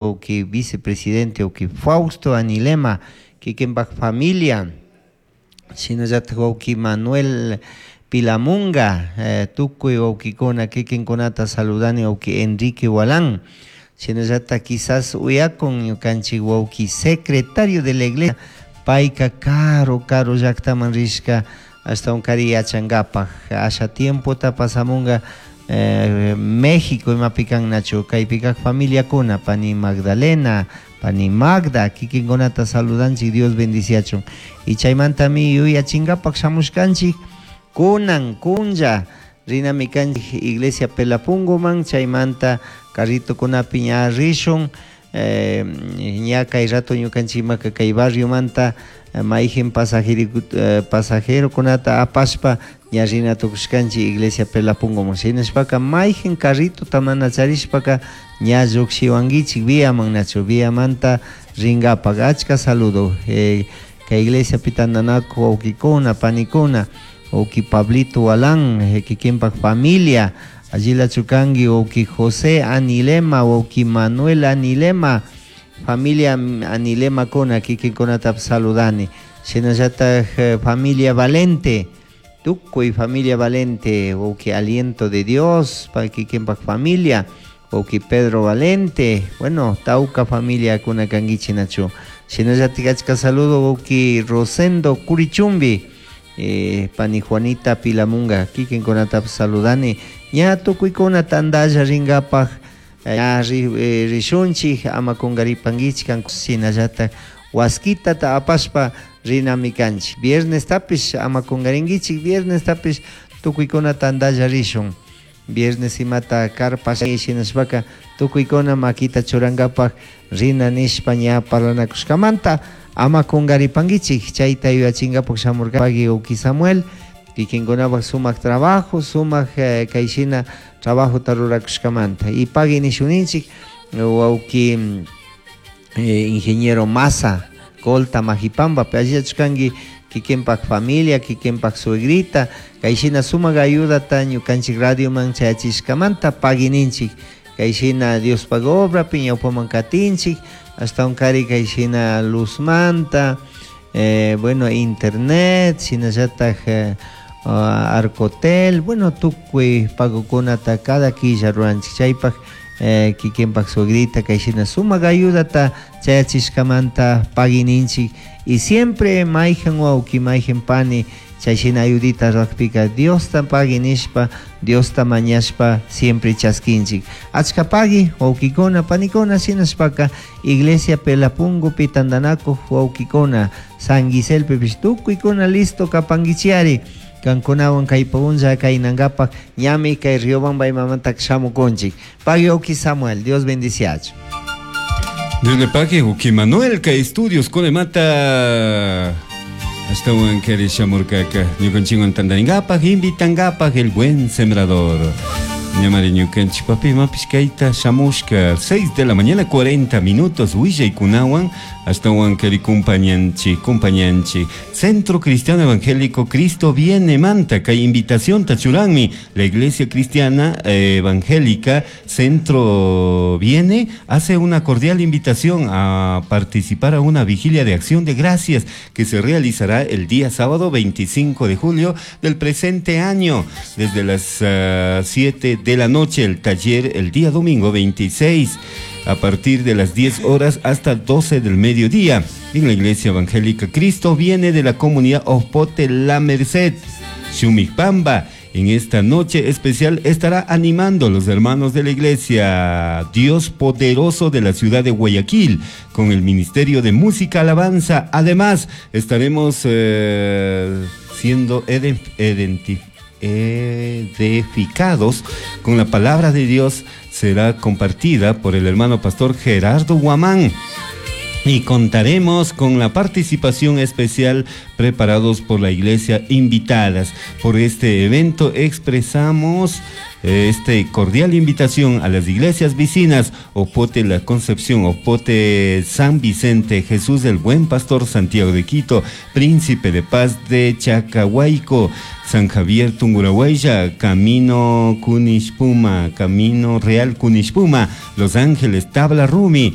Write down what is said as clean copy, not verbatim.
Wawki vicepresidente wawki Fausto Anilema kikinpak familia shinallatak wawki Manuel Pilamunga tukuy wawkikuna kikinkunata saludani wawki Enrique Gualán shinallatak quizás uyakun ñukanchik wawki secretario de la iglesia payka karu karu llaktaman rishka ashtawankari yachankapak asha tiempota pasamunga México imapi kannachu kaypi kak familiakuna pani Magdalena pani Magda kikinkunata saludanchik Dios bendiciachun y chaymantami yuyachinkapak shamushkanchik kunan kunlla rinami kanchik iglesia Pelapunguman chaymanta carritokunapi ña rishun ña kay rato ñukanchikmaka kay barriomanta mayjin pasajerokunata apashpa ña rina tukushkanchik iglesia Pelapunguman shinashpaka mayjin carritota mana charishpaka ña llukshiwankichik viaman nachu viamanta rinkapak achka saludo kay iglesiapi tantanakuk wawkikuna panikuna wawki Pablito Gualán kikinpak familia allilachu kanki wawki José Anilema wawki Manuel Anilema familia Anilemakuna kikinkunatapish saludani shinallatak familia Valente tukuy familia Valente wawki Aliento de Dios kikinpak familia wawki Pedro Valente bueno tawka familiakuna kankichik nachu shinallatik achka saludo wawki Rosendo Curichumbi pani Juanita Pilamunga kikinkunatapish saludani ña tukuykuna tantalla rinkapak ña rishunchik ama kunkaripankichik shinallatak waskitata apashpa rinami kanchik viernestapish ama kunkarinkichik viernestapish tukuykuna tantalla rishun viernes imata carpa shinashpaka tukuykuna makita churankapak rina nishpa ña parlanakushkamanta ama kunkaripankichik chayta yuyachinkapak shamurkapaki wawki Samuel kikinkunapak sumak trabajo sumak kayshina trabajota rurakushkamanta y pagui nishuninchik wawki ingeniero Maza Colta Majipambapi allillachu kikinpak familia kikinpak suegrita kayshina sumak ayudata ñukanchik radioman chayachishkamanta pagui ninchik kayshina Diospak obrapi ñawpaman katinchik ashtawankari kayshina luzmanta bueno internet shinallatak arcotel bueno tukuy pagokunata cada killa ruranchik chaypak kikinpak suegrita kayshina sumak ayudata chayachishkamanta pagui ninchik y siempre mayjan wawki mayjan pani chayshina ayudita rurakpika Diosta pagui nishpa Diosta mañashpa siempre chaskinchik achka pagui wawkikuna panikuna shinashpaka iglesia Pelapungupi tantanakuk wawkikuna San Giselpipish tukuykuna listo kapankichiyari kankunawan kay punlla kaynankapak ñami kay Riobamba imamantaka shamukunchik pagui wawki Samuel Dios bendiciachu. Dios le pague, wawki Manuel, kay estudios kunemanta ashtawan kari shamurkaka ñukanchikwan tantarinkapak invitankapak el buen sembrador. Ñamari ñukanchik papi imapish kayta shamushka 6 de la mañana 40 minutos willaykunawan ashtawan kari compañanchik compañanchik Centro Cristiano Evangélico Cristo Viene manta kay invitación churanmi la Iglesia Cristiana Evangélica Centro Viene hace una cordial invitación a participar a una vigilia de acción de gracias que se realizará el día sábado 25 de julio del presente año desde las 7 de la noche, el taller el día domingo 26 a partir de las 10 horas hasta 12 del mediodía en la Iglesia Evangélica Cristo Viene de la comunidad Ospote La Merced, Shumipamba. En esta noche especial estará animando a los hermanos de la Iglesia Dios Poderoso de la ciudad de Guayaquil con el Ministerio de Música Alabanza. Además, estaremos siendo edificados con la palabra de Dios. Será compartida por el hermano pastor Gerardo Guamán. Y contaremos con la participación especial preparados por la iglesia invitadas. Por este evento expresamos Este cordial invitación a las iglesias vecinas, Opote La Concepción, Opote San Vicente, Jesús el Buen Pastor, Santiago de Quito, Príncipe de Paz de Chacahuayco, San Javier Tungurahuaya, Camino Cunishpuma, Camino Real Cunishpuma, Los Ángeles, Tabla Rumi.